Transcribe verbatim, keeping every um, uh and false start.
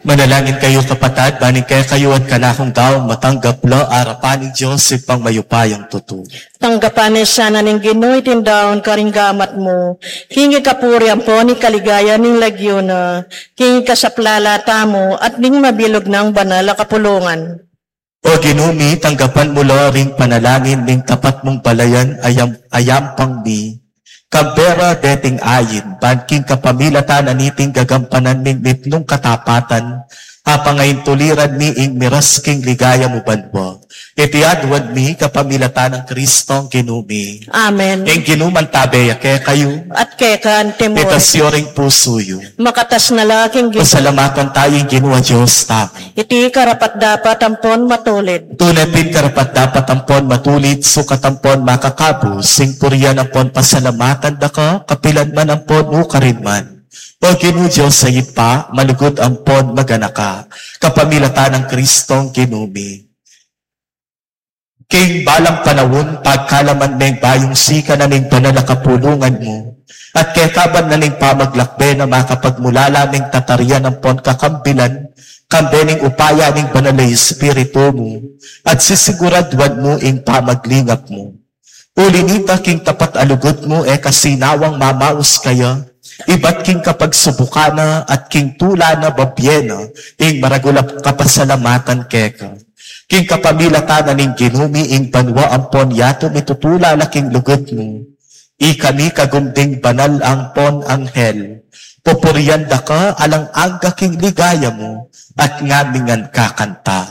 Manalangin kayu, kapatad, ban ing kekayu at kanakung daun matanggap la arapan ning Dios Ibpang mayupayang tutu. Tanggapan na sana ning Ginu iting daun karing gamat mu, king ikapuri ampon ikaligaya ning lagyu na, king ikasaplala tamu at ning mabilug nang banal a kapulungan. O Ginu mi, tanggapan mu la ring panalangin ning tapat mung balayan a yam-, a yampang mi, kambe ra deting ayin, ban king kapamilatan na niting gagampanan ming mitmung katapatan, apangaintuliran mi ing miras king ligaya mu banua. Iti aduan mi kapamilatan nang Kristong Ginu mi. Amen. Ing Ginu mantabe ya kekayu. At keka naman. Itas yu ring pusu yu. Makatas na la king Ginu. Pasalamatan taya ing Ginu a Dios tamu. Iti karapat-dapat ampon matulid. Tune pin karapat-dapat ampon matulid, sukat ampon makakabus, ing purian ampon pasalamatan da ka, kapilan man ampon nukarin man. O Ginu Dios a Ibpa, malugud ampon maganaka, kapamilatan nang Kristong Ginu mi. King balang panaun, pagkalaman meng bayung sikanan ning banal a kapulungan mu, at kekaban na ning pamaglakbe na makapagmulala meng tatarian ampon kakambilan, kambe ning upaya ning Banal a Espiritu mu, at sisiguraduan mu ing pamaglingap mu. Uli nita, king tapat a lugud mu, e ka sinawang mamaus kaya, ibat king kapagsubukan na at king tula na babie na ing maragul a kapasalamatan keka. King kapamilatan na ning Ginu mi, ing banua ampon yatu mitutula la king lugud mu. Ikami kagum ding banal ampon anghel, pupurian da ka alang angga king ligaya mu, at ngan mi ngan kakanta.